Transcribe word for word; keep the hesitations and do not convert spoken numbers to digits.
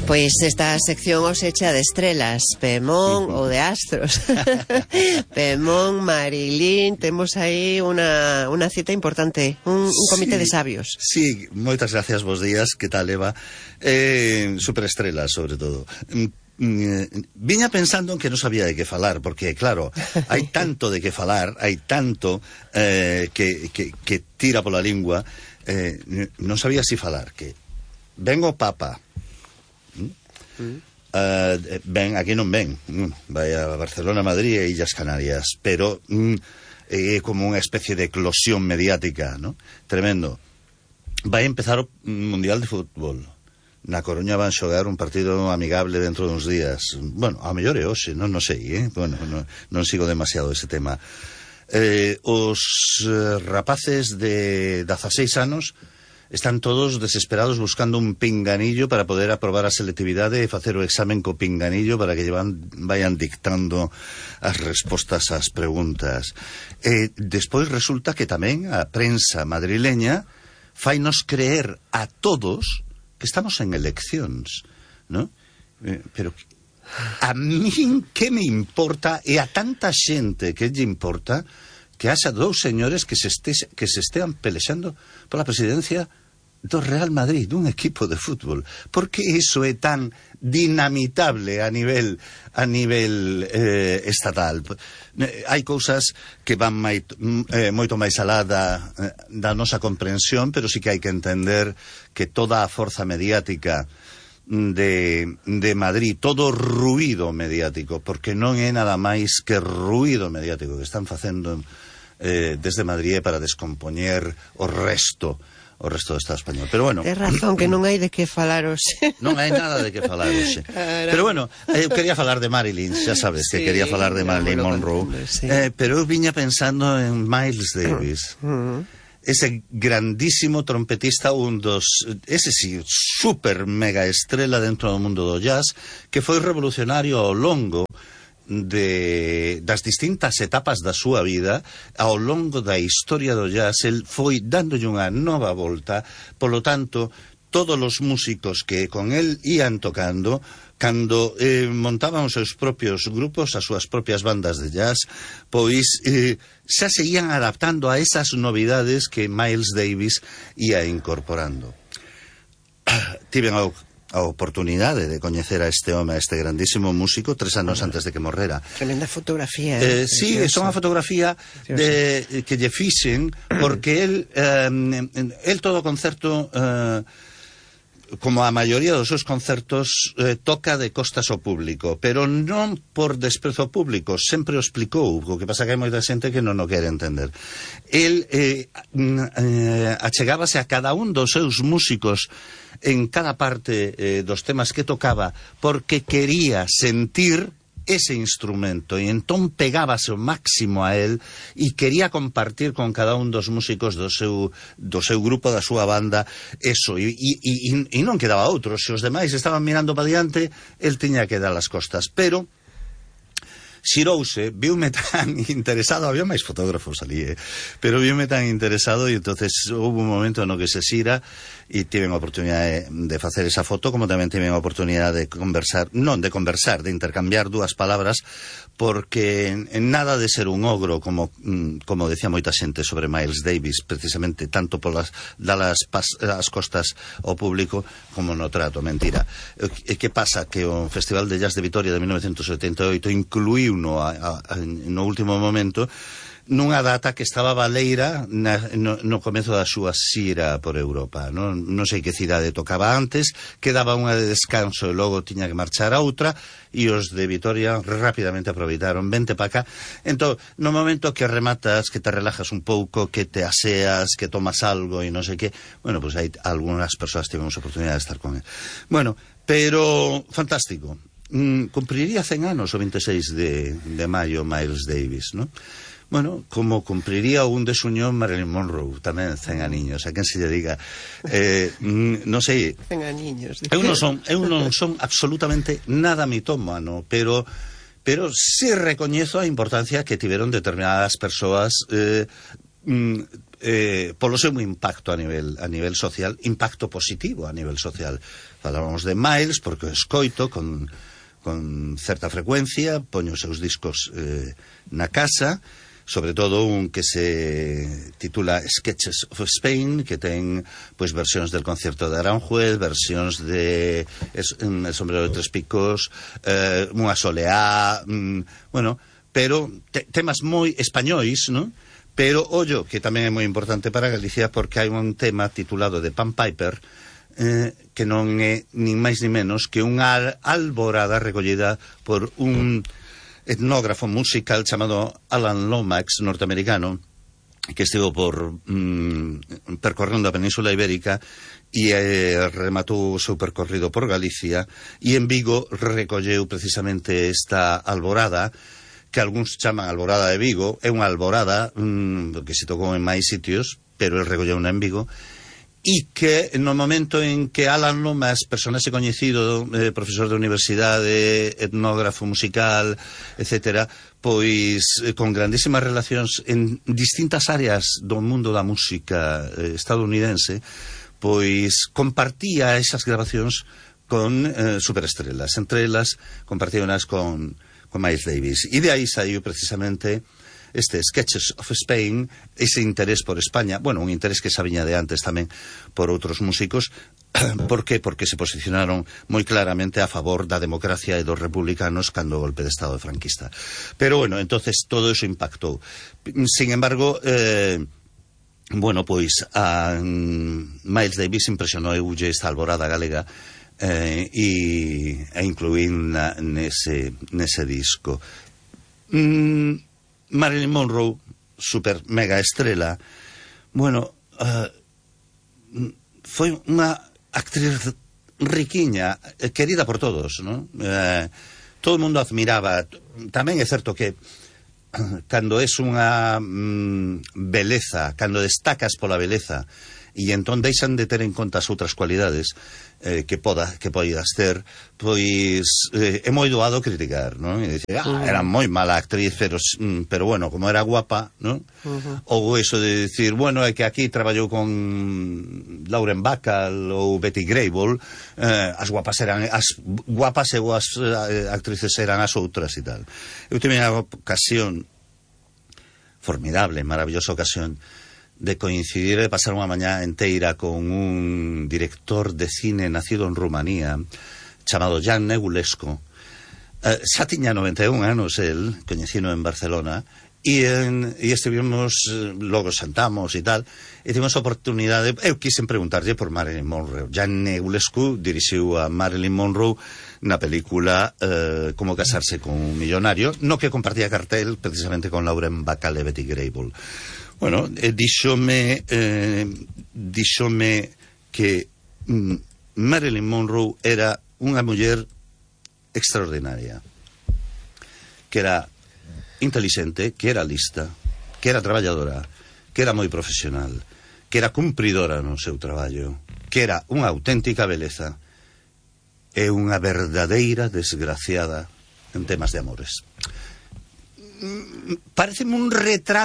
Pois esta sección os echa de estrelas, Pemón ou de astros. Pemón, Marilín, temos aí unha, unha cita importante, un, un comité sí, de sabios. Sí, moitas gracias, bos días, que tal, Eva? Eh, superestrelas, sobre todo. Viña pensando en que non sabía de que falar, porque, claro, hai tanto de que falar, hai tanto eh, que, que, que tira pola lingua, eh, non sabía si falar, que ven o Papa, Mm. Uh, ven, aquí non ven, mm, vai a Barcelona, Madrid e Illas Canarias, pero mm, é como unha especie de eclosión mediática, ¿no? Tremendo. Vai empezar o Mundial de Fútbol. Na Coruña van xogar un partido amigable dentro duns días. Bueno, a mellor é hoxe, non, non sei, eh? Bueno, non, non sigo demasiado ese tema. Eh, os eh, rapaces de dezaseis anos están todos desesperados buscando un pinganillo para poder aprobar a selectividade e facer o examen co pinganillo para que llevan, vayan dictando as respostas ás preguntas. E despois resulta que tamén a prensa madrileña fainos creer a todos que estamos en eleccións, ¿no? Eh, pero a min que me importa, e a tanta xente que lle importa, que haxa dous señores que se, este, que se estean pelexando pola presidencia do Real Madrid, dun equipo de fútbol. Por que iso é tan dinamitable a nivel a nivel eh, estatal? Hai cousas que van mai, eh, moito máis alá da, da nosa comprensión, pero sí que hai que entender que toda a forza mediática de, de Madrid, todo ruído mediático, porque non é nada máis que ruído mediático que están facendo eh, desde Madrid para descompoñer o resto o resto do Estado español. Pero bueno, tes razón que non hai de que falar hoxe. Non hai nada de que falar hoxe. Pero bueno, eu quería falar de Marilyn, xa sabes que sí, quería falar de Marilyn Monroe, sí. eh, pero eu viña pensando en Miles Davis. Uh -huh. Ese grandísimo trompetista, un dos, ese sí, super mega estrela dentro do mundo do jazz, que foi revolucionario ao longo de das distintas etapas da súa vida, ao longo da historia do jazz. El foi dándolle unha nova volta, polo tanto, todos os músicos que con el ían tocando, cando eh, montaban os seus propios grupos, as súas propias bandas de jazz, pois eh, xa seguían adaptando a esas novidades que Miles Davis ia incorporando. Tiven ao a oportunidade de coñecer a este home, a este grandísimo músico, tres anos ah, antes de que morrera. Tremenda fotografía. Eh, sí, é unha fotografía de, que lle fixen, porque el, eh, el todo concerto, eh, como a maioría dos seus concertos, eh, toca de costas ao público, pero non por desprezo ao público, sempre o explicou, o que pasa que hai moita xente que non o quere entender. El eh, eh, achegábase a cada un dos seus músicos en cada parte eh, dos temas que tocaba, porque quería sentir ese instrumento, e entón pegábase o máximo a él e quería compartir con cada un dos músicos do seu, do seu grupo, da súa banda, eso, e, e, e, e non quedaba outro. Se os demais estaban mirando para diante, el tiña que dar as costas, pero xirouse, viume tan interesado, había máis fotógrafos ali, eh? pero viume tan interesado, e entonces houve un momento no que se xira e tiven a oportunidade de facer esa foto, como tamén tiven a oportunidade de conversar, non de conversar, de intercambiar dúas palabras, porque en nada de ser un ogro, como como decía moita xente sobre Miles Davis, precisamente tanto polas dalas as costas ao público como no trato, mentira. E que pasa? Que o Festival de Jazz de Vitoria de mil novecentos setenta e oito incluíu no, a, a, no último momento nunha data que estaba baleira na, no, no comezo da súa xira por Europa. Non, non sei que cidade tocaba antes, quedaba unha de descanso e logo tiña que marchar a outra, e os de Vitoria rapidamente aproveitaron, vente pa cá. Entón, no momento que rematas, que te relajas un pouco, que te aseas, que tomas algo e non sei que, bueno, pois pues hai algunhas persoas tivemos a oportunidade de estar con él. Bueno, pero fantástico. Mm, cumpriría cen anos o veintiséis de, de maio Miles Davis, ¿no? Bueno, como cumpriría un desuñón Marilyn Monroe, tamén cen aniños, a quen se lle diga. Eh, non sei. cen aniños. Eu non son, eu non son absolutamente nada mitómano, pero pero sí recoñezo a importancia que tiveron determinadas persoas eh, eh, polo seu impacto a nivel a nivel social, impacto positivo a nivel social. Falábamos de Miles porque o escoito con, con certa frecuencia, poño os seus discos eh, na casa, sobre todo un que se titula Sketches of Spain, que ten pois versións del concierto de Aranjuez, versións de es, El sombrero de tres picos, eh, unha soleá, mm, bueno, pero te, temas moi españois, ¿no? Pero ollo, que tamén é moi importante para Galicia porque hai un tema titulado de Pan Piper, eh, que non é nin máis ni menos que unha alborada recollida por un etnógrafo musical chamado Alan Lomax, norteamericano, que estivo por mm, percorrendo a Península Ibérica e eh, rematou o seu percorrido por Galicia, e en Vigo recolleu precisamente esta alborada, que algúns chaman Alborada de Vigo. É unha alborada mm, que se tocou en máis sitios, pero el recolleu en Vigo, e que no momento en que Alan Lomax, personaxe coñecido, eh, profesor de universidade, etnógrafo musical, etcétera, pois eh, con grandísimas relacións en distintas áreas do mundo da música eh, estadounidense, pois compartía esas grabacións con eh, superestrelas. Entre elas compartíonas con, con Miles Davis. E de aí saiu precisamente este Sketches of Spain, ese interés por España, bueno, un interés que xa viña de antes tamén por outros músicos. Por que? Porque se posicionaron moi claramente a favor da democracia e dos republicanos cando o golpe de Estado franquista. Pero bueno, entonces todo eso impactou. Sin embargo, eh, bueno, pois a um, Miles Davis impresionou eulle esta alborada galega eh, e, e incluín na, nese, nese disco. Mm, Marilyn Monroe, super mega estrela, bueno, uh, foi unha actriz riquiña, querida por todos, ¿no? Eh, todo o mundo admiraba. Tamén é certo que cando es unha mm, beleza, cando destacas pola beleza e entón deixan de ter en conta as outras cualidades eh, que poda, que poidas ter, pois eh, é moi doado criticar, non? E dicir, ah, era moi mala actriz, pero, pero bueno, como era guapa, non? Uh-huh. Ou eso de dicir, bueno, é que aquí traballou con Lauren Bacall ou Betty Grable, eh, as guapas eran as guapas e as eh, actrices eran as outras e tal. Eu tive unha ocasión formidable, maravillosa ocasión de coincidir, de pasar unha mañá enteira con un director de cine nacido en Rumanía chamado Jan Negulescu. eh, xa tiña noventa e un anos el, coñecino en Barcelona, e, en, e estivemos, logo sentamos e tal, e tivemos a oportunidade, eu quixen preguntarlle por Marilyn Monroe. Jan Negulescu dirixiu a Marilyn Monroe na película eh, Como casarse con un millonario, no que compartía cartel precisamente con Lauren Bacall e Betty Grable. Bueno, eh, díxome eh, díxome que mm, Marilyn Monroe era unha muller extraordinaria, que era intelixente, que era lista, que era traballadora, que era moi profesional, que era cumpridora no seu traballo, que era unha auténtica beleza e unha verdadeira desgraciada en temas de amores. Pareceme un retrato